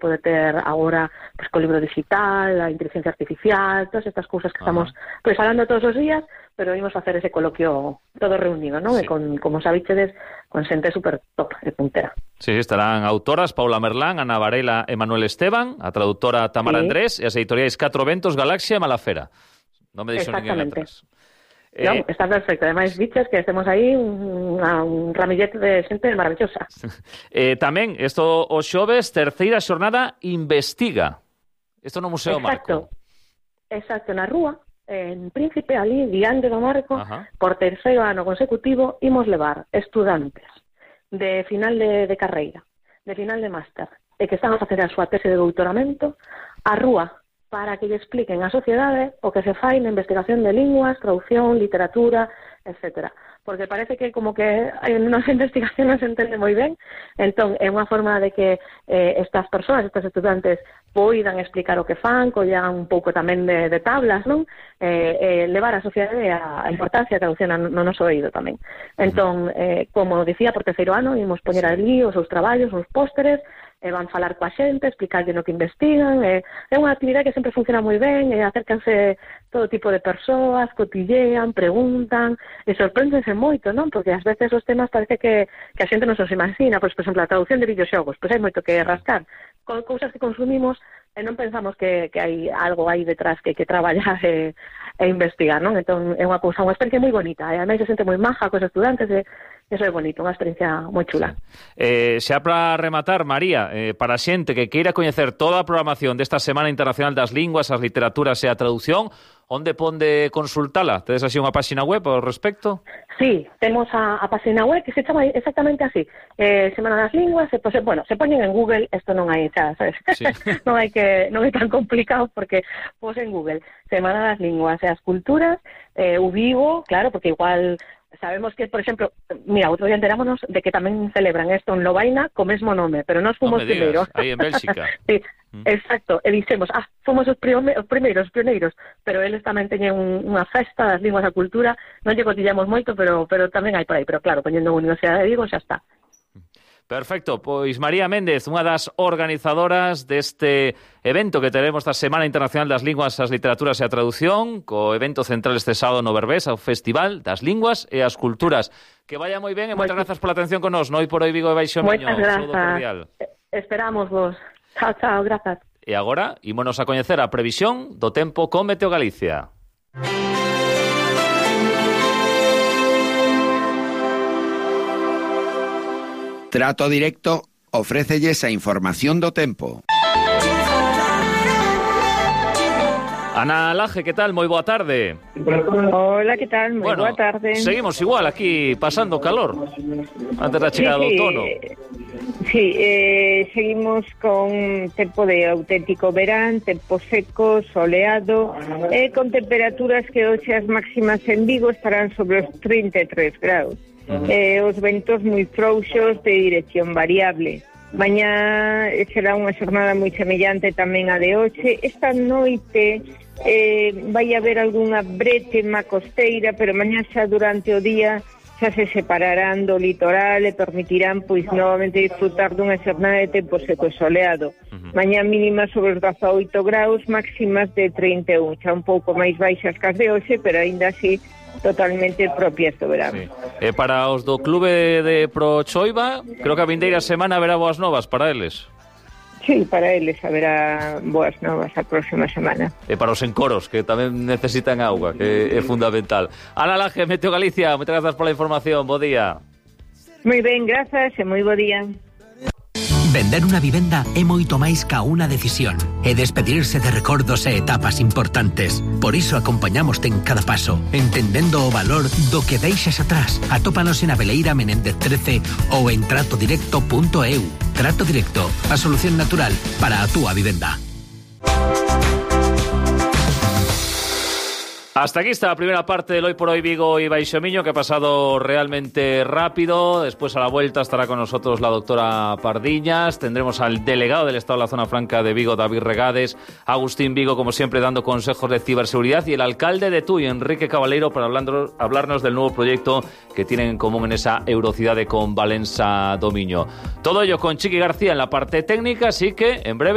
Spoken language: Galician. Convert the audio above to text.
pode ter agora pues, co libro digital, a inteligencia artificial, todas estas cousas que estamos pues, falando todos os días, pero imos facer ese coloquio todo reunido, non? Sí. E con, como sabichedes, con xente super top e puntera. Sí, estarán autoras Paula Merlán, Ana Varela e Manuel Esteban, a traductora Tamara Andrés e as editoriais Catro Ventos, Galaxia e Malafera. Non me deixo ninguén atrás. Non, está perfecto. Ademais, biches que estemos aí un ramillete de xente maravillosa. Tamén, isto os xoves, terceira xornada Investiga. Isto no Museo Marco. Exacto, na rúa, en Príncipe, ali, diante do Marco, por terceiro ano consecutivo, imos levar estudantes de final de carreira, de final de máster, e que están a facer a súa tese de doutoramento, á rúa, para que lle expliquen á sociedade o que se fai na investigación de linguas, traducción, literatura, etc. Porque parece que como que na investigación non se entende moi ben, entón é unha forma de que estas persoas, estes estudantes, poidan explicar o que fan, collan un pouco tamén de tablas, non? Levar á sociedade a importancia da traducción no noso oído tamén. Entón, como dicía, por terceiro ano, imos poñer ali os seus traballos, os pósteres, van falar coa xente, explicarlle no que investigan, é unha actividade que sempre funciona moi ben, acércanse todo tipo de persoas, cotillean, preguntan, e sorpréndense moito, non? Porque ás veces os temas parece que a xente non se os imagina, pois, por exemplo, a traducción de videoxogos, pois hai moito que rascar, con cousas que consumimos e non pensamos que hai algo aí detrás que traballar e investigar, non? Entón, é unha cousa, unha experiencia moi bonita, e ademais se xente moi maja cos estudantes, eso é bonito, unha experiencia moi chula. Xa para rematar, María, para a xente que queira coñecer toda a programación desta Semana Internacional das Linguas, as Literaturas e a Traducción, onde ponde consultala? Tedes así unha páxina web ao respecto? Sí, temos a páxina web que se chama exactamente así, Semana das Linguas, se poñen en Google, isto non hai, xa, sabes? Sí. non é tan complicado porque pos en Google Semana das Linguas e as Culturas, o Vigo, claro, porque igual sabemos que, por exemplo, mira, outro día enterámonos de que tamén celebran isto en Lovaina co mesmo nome, pero nós fomos primeiros. Aí en Bélxica. Sí, exacto, e dixemos, fomos os primeiros, pioneiros, pero eles tamén teñen unha festa das linguas da cultura, non lle cotillamos moito, pero tamén hai por aí, pero claro, poñendo a Universidade de Vigo xa está. Perfecto, pois María Méndez, unha das organizadoras deste evento que teremos esta Semana Internacional das Linguas, as Literaturas e a Traducción, co evento central este sábado no Berbés, ao Festival das Linguas e as Culturas. Que vaya moi ben e moitas grazas pola atención con nós, no Hoy por Hoy Vigo e Baixo Miño. Moitas grazas. Esperamos vos. Chao, grazas. E agora, ímonos a coñecer a previsión do tempo con Meteo Galicia. Trato Directo ofrécelles a información do tempo. Ana Laje, que tal? Moi boa tarde. Hola, que tal? Moi boa tarde. Seguimos igual aquí, pasando calor, antes da chegada do outono. Sí, seguimos con tempo de auténtico verán, tempo seco, soleado, con temperaturas que hoxe as máximas en Vigo estarán sobre os 33 graus. Os ventos moi frouxos de dirección variable. Mañá será unha xornada moi semellante tamén a de hoxe. Esta noite vai haber algunha brétema costeira, pero mañá xa durante o día xa se separarán do litoral e permitirán pois novamente disfrutar dunha xornada de tempo seco e soleado. Mañá mínima sobre os 18 graus, máximas de 31, xa un pouco máis baixas que as de hoxe, pero aínda así totalmente propias do verán. Sí. Para os do clube de Prochoiva, creo que a vindeira semana haberá boas novas para eles. Sí, para eles haberá boas novas a próxima semana. E para os encoros, que tamén necesitan auga, que é fundamental. Ana Laje, Meteo Galicia, moitas grazas pola información, bo día. Moi ben, grazas e moi bo día. Vender unha vivenda é moito máis ca unha decisión. É despedirse de recordos e etapas importantes. Por iso acompañamoste en cada paso, entendendo o valor do que deixas atrás. Atópanos en Abeleira Menéndez 13 ou en tratodirecto.eu. Trato Directo, a solución natural para a túa vivenda. Hasta aquí está la primera parte del Hoy por Hoy Vigo y Baixomiño, que ha pasado realmente rápido. Después a la vuelta estará con nosotros la doctora Pardiñas. Tendremos al delegado del Estado de la Zona Franca de Vigo, David Regades, Agustín Vigo, como siempre, dando consejos de ciberseguridad, y el alcalde de Tui, Enrique Cabaleiro, para hablarnos del nuevo proyecto que tienen en común en esa Eurocidade con Valença Domiño. Todo ello con Chiqui García en la parte técnica, así que en breve